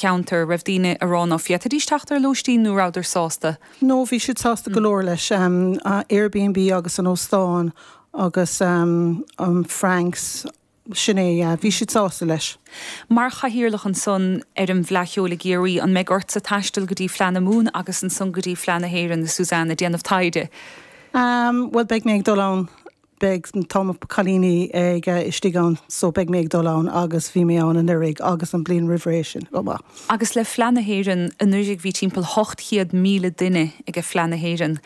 Cheantar, raibh daoine a rá ná féadfaidís teacht ar lóistín nó rabhadar sásta? No, bhí siad sásta go leor leis. Airbnb agus an óstán agus an Franks, sin é, yeah, bhí siad sásta leis. Mar chathaoirleach ansan ar an bhFleadh Cheoil i gCiarraí, an mbeidh ortsa taisteal go dtí Fleadh na Mumhan agus ansan go dtí Fleadh na hÉireann, a Suzanne, ag déanamh taighde? Bhuel, beidh mé ag dul ann Beidh, tá mo cailíní ag istigh ann so beidh mé ag dul ann agus bhí mé ann anuraidh agus an bliain roimh ré sin chomh maith. Agus le Fleadh na hÉireann, anuraidh bhí timpeall 800,000 duine ag Fleadh na hÉireann.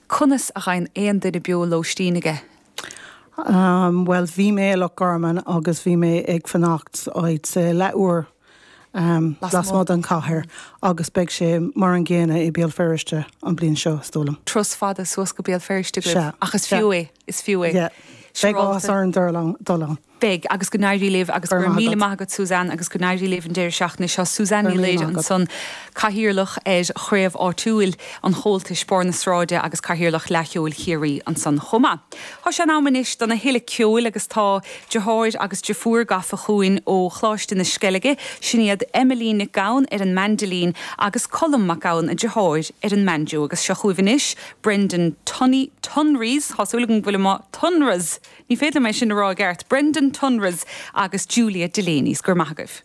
Conas a gheibheann aon duine beo lóistín aige? Bhuel bhí mé i Loch Garman agus bhí mé ag fanacht áit leathuair lasmuigh den chathair agus beidh sé mar an gcéanna i Béal Feirste an bliain seo, is dóigh liom. Turas fada suas go Béal Feirste agaibh, ach is fiú é, is fiú é. Yeah. Beidh áthas orainn dul ann. Beidh, agus go n-éirí libh agus go raibh míle maith agat Suzanne agus go n-éirí libh an deireadh seachtaine seo. Suzanne Ní Laoire ansan, Cathaoirleach ar chraobh áitiúil an Chomhaltais, Barr na Sráide agus Cathaoirleach Fhleadh Cheoil Chiarraí ansan chomh maith. Tá sé in am anois dona thuilleadh ceoil agus tá deartháir agus deirfiúr gafa chugainn ó Choláiste na Sceilge, sin iad Emily Nic Gabhann ar an maindilín agus Colm Mac Gabhann, a deartháir, ar an mbanjo agus seo chugaibh anois Brendan Tunney, Tonries, tá súil agam go bhfuil mé, Tonries! Ní féidir liom é sin a rá i gceart, Brendan Tonries agus Julia Delaney's. Go raibh maith agaibh.